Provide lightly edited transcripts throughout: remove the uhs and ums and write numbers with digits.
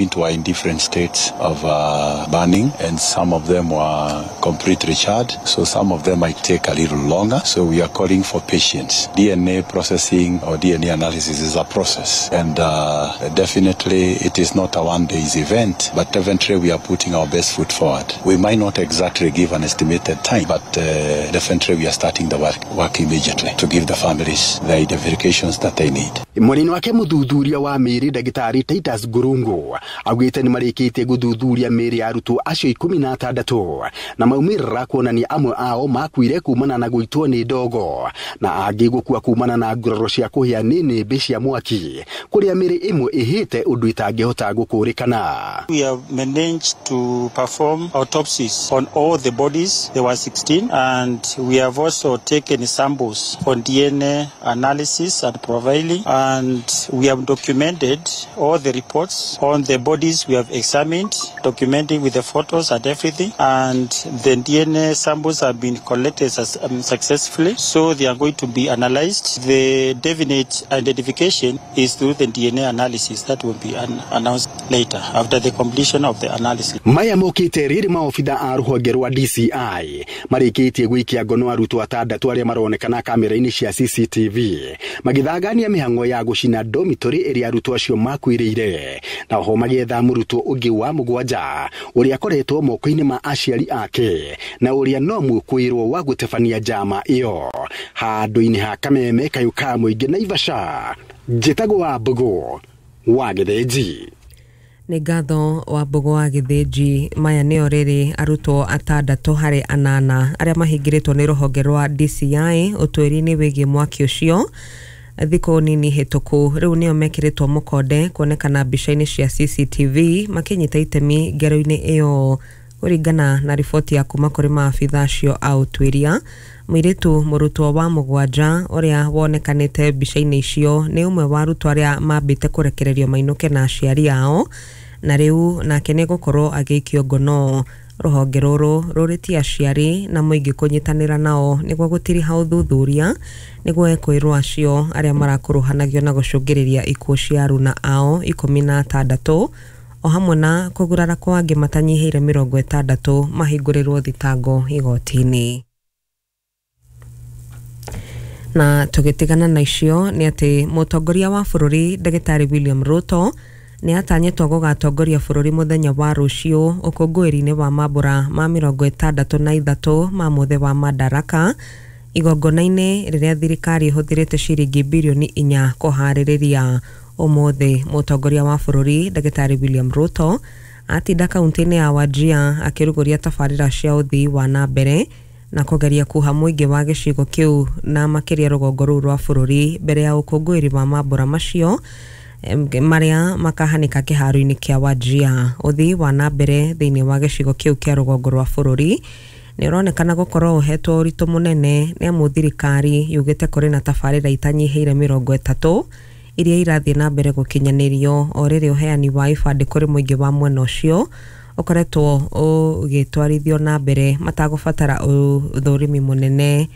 Were in different states of burning, and some of them were completely charred, so some of them might take a little longer. So we are calling for patience. DNA processing or DNA analysis is a process, and definitely it is not a one day's event, but definitely we are putting our best foot forward. We might not exactly give an estimated time, but definitely we are starting the work immediately to give the families the identifications that they need. Mwena wake muthuthuria wa mĩĩrĩ ndagĩtarĩ Titus Ngurungu augĩte nĩ marĩkĩtie gũthuthuria mĩĩrĩ ya arutwo acio 16 na maumĩrĩra kuonania amwe ao makuire kumana na gũitwo nĩ ndogo na angĩ gũkua kumana na nguraro cia kũhĩa nĩ nĩmbĩ cia mwaki kũrĩa mĩĩrĩ ĩmwe ĩhĩte ũndũ itangĩhota gũkũrĩkana. We have managed to perform autopsies on all the bodies. There were 16, and we have also taken samples on DNA analysis and profiling, and we have documented all the reports on the bodies we have examined, documenting with the photos and everything, and the DNA samples have been collected successfully, so they are going to be analyzed. The definite identification is through the DNA analysis that will be announced later after the completion of the analysis. Maya mokĩte rĩrĩ maobitha a rũhonge rwa DCI marĩkĩtie gũikia ngono arutwo atandatũ arĩa maronekana kamera-inĩ cia CCTV magĩthangania mĩhang'o ya gũcina dormitory ĩrĩa arutwo acio makuĩrĩire, na oho magĩetha mũrutwo ũngĩ wa mũgwanja ũrĩa akoretwo moko-inĩ ma aciari ake na ũrĩa no mũkwĩrwo wa gũtabania njama ĩyo. Handũ-inĩ ha Kameme kayũ ka mũingĩ Naivasha, njĩtagwo Wambũgũ wa Gĩthĩnji. Nĩ ngatho Wambũgũ wa Gĩthĩnji. Maya nĩo rĩrĩ arutwo atandatũ harĩ anana arĩa mahingĩrĩtwo nĩ rũhonge rwa DCI ũtuĩria-inĩ wĩgiĩ mwaki ũcio thikũ nini hĩtũku. Rĩu nĩo mekĩrĩtwo mũkonde kuonekana mbica-inĩ cia CCTV makĩnyita itemi ngero-inĩ ĩyo kũringana na riboti ya kuma kũrĩ maabitha acio a ũtuĩria. Mũirĩtu mũrutwo wa mũgwanja ũrĩa wonekanĩte mbica-inĩ icio nĩ ũmwe wa arutwo arĩa mambĩte kũrekererio mainũke na aciari ao, na rĩu nake nĩ gũkorwo agĩikio ngono. Rũhonge rũrũ rũrĩtie aciari na mũingĩ kũnyitanĩra nao nĩguo gũtiriha ũthuthuria nĩguo ekwĩrwo acio arĩa marakuruhanagio na gũcũngĩrĩria ikuũ cia aruna ao 16 o hamwe na kũgurara kwa angĩ matanyihĩire 60 mahingũrĩrwo thitango igoti-inĩ. Na tũgĩtigana na icio nĩ atĩ mũtongoria wa bũrũri ndagĩtarĩ William Ruto nĩ atanyĩtwo gũgatongoria bũrũri mũthenya wa rũciũ ũkũngũĩri-inĩ wa mambũra ma 63 ma mũthĩ wa Madaraka, igongona-inĩ rĩrĩa thirikari ĩhũthĩrĩte ciringi birioni 4 kũharĩrĩria. Ũmũthĩ mũtongoria wa bũrũri ndagĩtarĩ William Ruto atinda kaunti-inĩ ya Wajir akĩrugũria tabarĩra cia ũthii wa na mbere na kũgeria kuha mũingĩ wa gĩcigo kĩu na makĩria rũgongo rũu rwa bũrũri mbere ya ũkũngũĩri wa mambũra macio marĩa makahanĩka kĩharo-inĩ kĩa Wajir. Ũthii wa na mbere thĩinĩ wa gĩcigo kĩu kĩa rũgongo rwa bũrũri nĩ ũronekana gũkorwo ũhetwo ũritũ mũnene nĩ amu thirikari yugĩte kũrĩ na tabarĩra itanyihĩire 30 iria irathiĩ na mbere gũkinyanĩrio o rĩrĩ ũheani wa ibandĩ kũrĩ mũingĩ wa mwena ũcio ũkoretwo ũgĩtwarithio na mbere matagũbatara ũthũrimi mũnene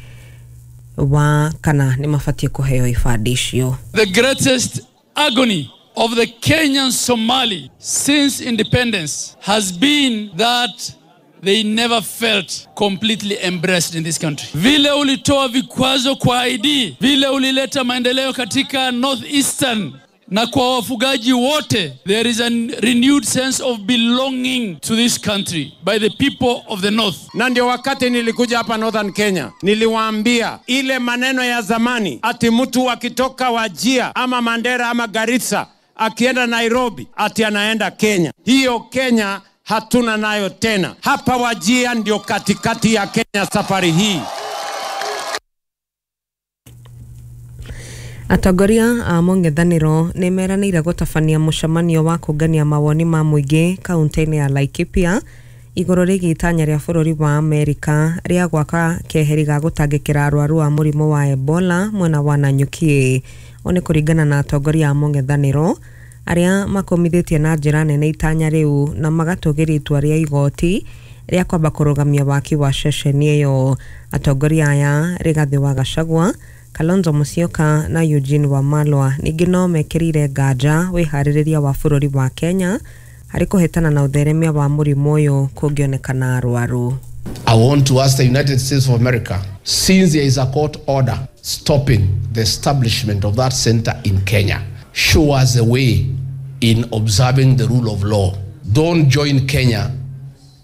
wa kana nĩ mabatiĩ kũheo ibandĩ icio. The greatest agony of the Kenyan Somali since independence has been that they never felt completely embraced in this country. Vile ulitoa vikwazo kwa ID, vile ulileta maendeleo katika Northeastern na kwa wafugaji wote, there is a renewed sense of belonging to this country by the people of the North. Na ndio wakati nilikuja hapa Northern Kenya, niliwaambia ile maneno ya zamani ati mtu akitoka Wajir ama Mandera ama Garissa akienda Nairobi ati anaenda Kenya. Hiyo Kenya hatuna nayo tena. Hapa Wajir ndio katikati ya Kenya safari hii. Atongoria a mũng'ethanĩro nĩ meranĩire gũtabania mũcemanio wa kũngania mawoni ma mũingĩ kaunti-inĩ ya Laikipia igũrũ rĩgiĩ itanya rĩa bũrũri wa Amerika rĩa gwaka keheri ga gũtangĩkĩra arwaru a mũrimũ wa Ebola mwena wa Nanyuki. Ũũ nĩ kũringana na atongoria a mũng'ethanĩro arĩa makomithĩtie na njĩra nene itanya rĩu na magatũgĩria itua rĩa igoti rĩa kwamba kũrũgamia waki wa ceceni ĩyo. Atongoria aya Rigathĩ wa Gachagua, Kalonzo Musyoka na Eugene Wamalwa ningĩ no mekĩrĩire nganja wĩharĩrĩria wa bũrũri wa Kenya Harĩ kũhĩtana na ũtheremia wa mũrimũ ũyũ kũngĩonekana arwaru. I want to ask the United States of America, since there is a court order stopping the establishment of that center in Kenya, show us the way in observing the rule of law. Don't join Kenya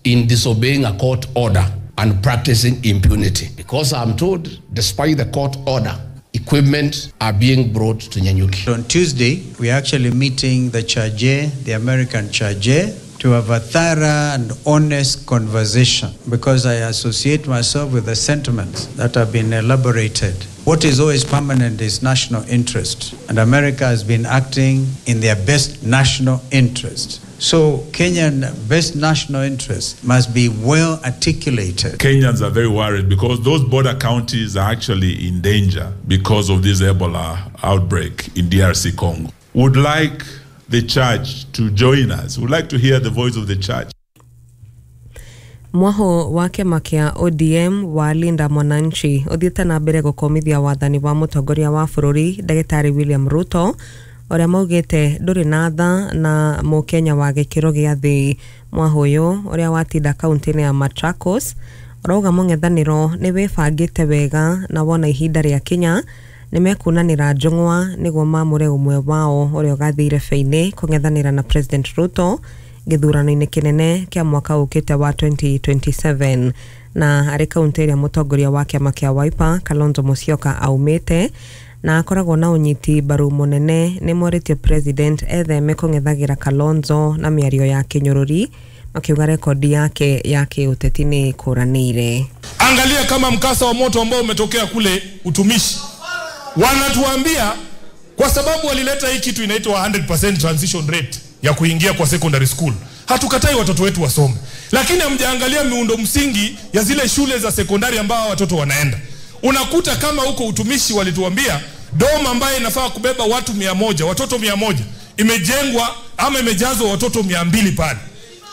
in disobeying a court order and practicing impunity. Because I'm told, despite the court order, equipment are being brought to Nanyuki. On Tuesday, we are actually meeting the charge, the American charge, to have a thorough and honest conversation, because I associate myself with the sentiments that have been elaborated. What is always permanent is national interest, and America has been acting in their best national interest. So Kenyan best national interest must be well articulated. Kenyans are very worried because those border counties are actually in danger because of this Ebola outbreak in DRC Congo. Would like the church to join us. We'd like to hear the voice of the church. Mwaho wa kĩama kĩa ODM wa Linda Mwananchi ũthiĩte na mbere gũkomithia wathani wa mũtongoria wa bũrũri Ndagĩtarĩ William Ruto ũrĩa maugĩte ndũrĩ na tha na mũkenya wa gĩkĩro gĩa thĩ. Mwaho ũyũ ũrĩa watinda kaunti-inĩ ya Machakos ũrauga mũng'ethanĩro nĩ wĩbangĩte wega na wona ihinda rĩa kinya nĩmekunanĩra njũng'wa nĩguo mamũre ũmwe wao ũrĩa ũgathiĩ irebe-inĩ kũng'ethanĩra na President Ruto gĩthurano-inĩ kĩnene kĩa mwaka ũkĩte wa 2027. Na arĩ kaunti ĩrĩa mũtongoria wa kĩama kĩa Wiper Kalonzo Musyoka aumĩte na akoragwo na ũnyiti mbaru mũnene, nĩ morĩtie President etheme kũng'ethagĩra Kalonzo na mĩario ya kĩnyũrũri, makiuga rekodi yake ya kĩũteti nĩ ĩkũranĩire. Angalia kama mkasa wa moto ambao umetokea kule Utumishi, wanatuambia kwa sababu walileta hii kitu inaitwa 100% transition rate ya kuingia kwa secondary school. Hatukatai watoto wetu wasome, lakini hamjaangalia miundo msingi ya zile shule za sekondari ambao watoto wanaenda. Unakuta kama huko Utumishi walituambia dom ambaye inafaa kubeba watu 100, watoto 100 imejengwa ama imejazwa watoto 200 pale.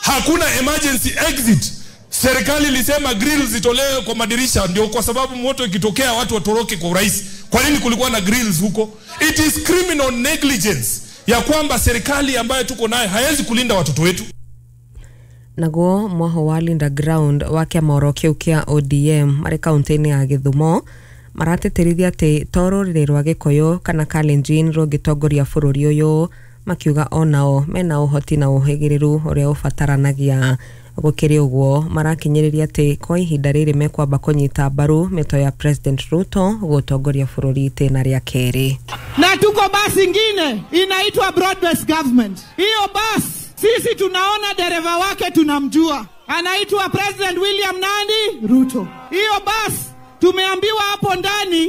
Hakuna emergency exit. Serikali ilisema grills zitolewe kwa madirisha ndio kwa sababu moto ikitokea watu watoroke kwa urahisi. Kwa nini kulikuwa na grills huko? It is criminal negligence ya kwamba serikali ambayo tuko nayo haiwezi kulinda watoto wetu. Naguo mwaho wa Linda Ground wa kĩama oro kĩu kĩa ODM marĩ kaunti-inĩ ya Gĩthumo maratĩtĩrithia atĩ to rũrĩrĩ rwa Gĩkũyũ kana Kalenjin rũngĩtongoria bũrũri ũyũ, makiuga onao mena ũhoti na ũhĩgĩrĩru ũrĩa ũbataranagia. Gũkĩrĩ ũguo marakinyĩrĩria atĩ kwa ihinda rĩrĩ mekwamba kũnyita mbaru mĩto ya President Ruto gũtongoria bũrũri itĩna rĩa kerĩ. Na tuko basi ingine inaitwa broad-based government. Hiyo basi sisi tunaona dereva wake tunamjua, anaitwa President William nani Ruto. Hiyo basi tumeambiwa hapo ndani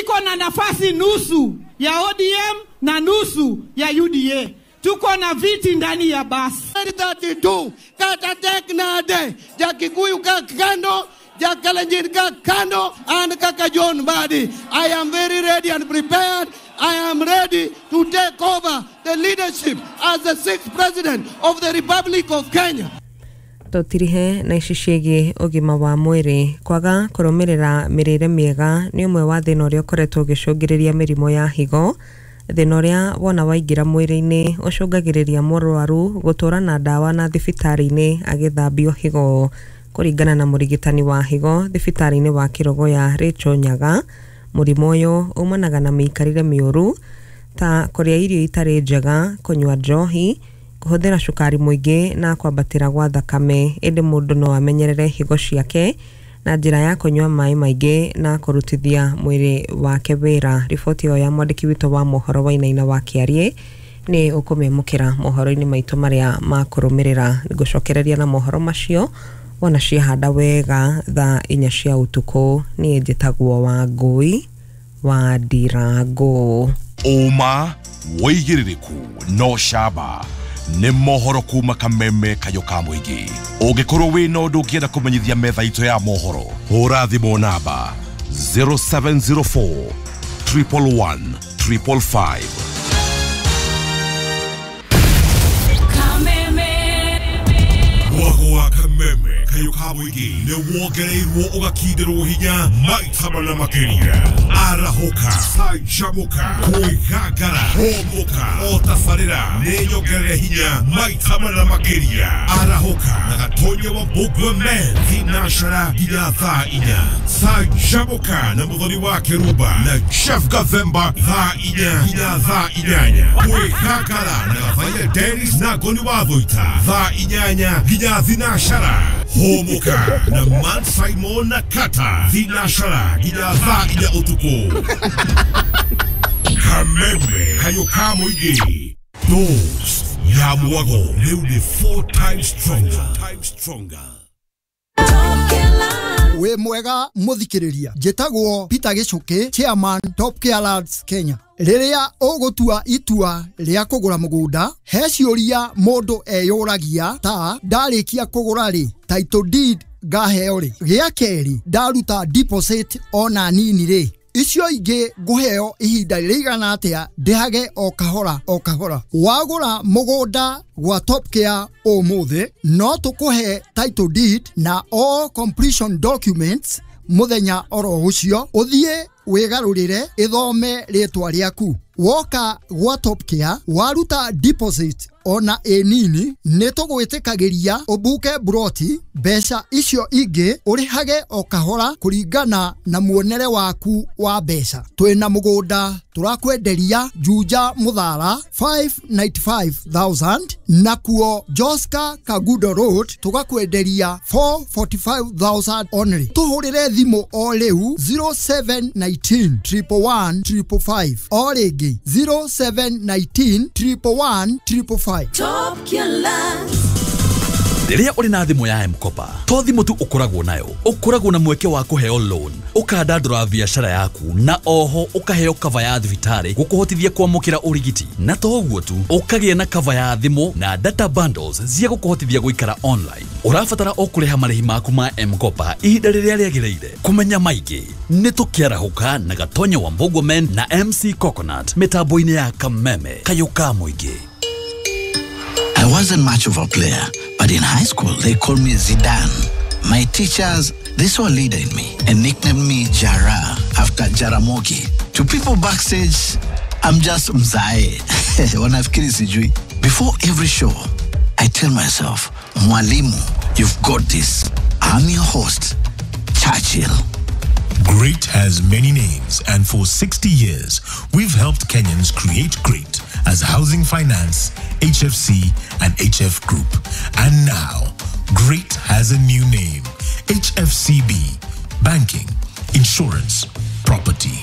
iko na nafasi nusu ya ODM na nusu ya UDA. Tuko na viti ndani ya basi. 32 kata tek nade Jakikuyu ka kando, Jakalenjin ka kando, and kaka John Mbadi. I am very ready and prepared. I am ready to take over the leadership as the sixth president of the Republic of Kenya. Tũtirihe na ici ciĩgiĩ ũgima wa mwĩrĩ. Kwaga kũrũmĩrĩra mĩrĩre mĩega nĩ ũmwe wa thĩna ũrĩa ũkoretwo ũgĩcũngĩrĩria mĩrimũ ya higo. Thĩna ũrĩa wona waingĩra mwĩrĩ-inĩ ũcũngagĩrĩria mũrwaru gũtũra na ndawa na thibitarĩ-inĩ agĩthambio higo. Kũringana na mũrigitani wa higo thibitarĩ-inĩ wa Kĩrogoya Rachel Nyaga, mũrimũ ũyũ umanaga na mĩikarĩre mĩũru ta kũrĩa irio itarĩ njega, kũnyua njohi, kũhũthĩra cukari mũingĩ na kwambatĩra gwa thakame. Ĩndĩ mũndũ no amenyerere higo ciake na njĩra ya kũnyua maĩ maingĩ na kũrutithia mwĩrĩ wake wĩra. Riboti ĩyo ya mwandĩki witũ wa mohoro Wainaina wa Kĩariĩ nĩ ũkũmĩamũkĩra mohoro-inĩ maitũ marĩa makũrũmĩrĩra. Ngũcokereria na mohoro macio wona ciahanda wega thaa 4 cia ũtukũ. Niĩ njĩtagwo Wangũi wa Ndirango. Ũma wĩigĩrĩrĩku no camba nĩ mohoro kuma kameme kayo ka mũingĩ. Ũngĩkorwo wĩna ũndũ ũngĩenda kũmenyithia metha itũ ya mohoro, hũra thimũ namba 0704 111 555. Kameme. Mwago wa Kameme. kayũ ka mũingĩ nĩ wongereirwo ũgakindĩrwo hinya maita mana makĩria. Arahũka, canjamũka, kwĩgangara, hũmũka, o tabarĩra nĩ nyongerere hinya maita mana makĩria. Arahũka na Gatonya wa Mbũgua Men thinashara nginya thaa 4. Canjamũka na Mũthoni wa Kĩrumba na Jeff Gathemba thaa 4 nginya thaa 8. Kwĩgangara na Gathaiya Dennis na Ngoni wa Thuita thaa 8 nginya thinashara. Hũmũka na Man Simon na Kata thinashara nginya thaa 4 ũtukũ. Kameme kayũ ka mũingĩ. Dose ya mwago rĩu nĩ 4 times stronger. Wĩ mwega mũthikĩrĩria, njĩtagwo Peter Gĩcũkĩ, chairman Top Care Lands Kenya. Rĩrĩa ũgũtua itua rĩa kũgũra mũgũnda, he ciũria mũndũ eyũragia ta ndarĩkia kũgũra rĩ, title deed ngaheo rĩ, gĩa kerĩ ndaruta deposit ona nini rĩ, icio ingĩ ngũheo ihinda rĩigana atĩa ndĩhage o kahora o kahora. Wagũra mũgũnda gwa Top Care ũmũthĩ, no tũkũhe title deed na all completion documents mũthenya oro ũcio, ũthiĩ wĩgarũrĩre ĩthome rĩtwa rĩaku. Woka gwa Top Care waruta deposit ona ĩ nini, nĩ tũgwĩtĩkagĩria ũbuke buroti, mbeca icio ingĩ ũrĩhage o kahora kũringana na muonere waku wa mbeca. Twĩna mũgũnda tũrakwenderia Juja Mũthara 595,000, nakuo Joska Kagudo Road tũgakwenderia 445,000 only. Tũhũrĩre thimũ o rĩu 0719 111 555, o rĩngĩ 0719 111 555. Top Care Lands. Rĩrĩa ũrĩ na thimũ ya M-Kopa, to thimũ tu ũkoragwo nayo, ũkoragwo na mweke wa kũheo loan, ũkandandũra biacara yaku, na oho ũkaheo cover ya thibitarĩ gũkũhotithia kwamũkĩra ũrigiti. Na to ũguo tu, ũkagĩa na cover ya thimũ na data bundles cia gũkũhotithia gũikara online. Ũrabatara o kũrĩha marĩhi maku ma M-Kopa ihinda rĩrĩa rĩagĩrĩire. Kũmenya maingĩ nĩ tũkĩarahũka na Gatonya wa Mbũgua Men na MC Coconut mĩtambo-inĩ ya Kameme kayũ ka mũingĩ. I wasn't much of a player, but in high school they called me Zidane. My teachers, they saw a leader in me and nicknamed me Jara after Jaramogi. To people backstage, I'm just Mzae. Wanafikiri sijui. Before every show, I tell myself, Mwalimu, you've got this. I'm your host, Churchill. Great has many names, and for 60 years, we've helped Kenyans create great as Housing Finance, HFC, and HF Group. And now, great has a new name, HFCB, Banking, Insurance, Property.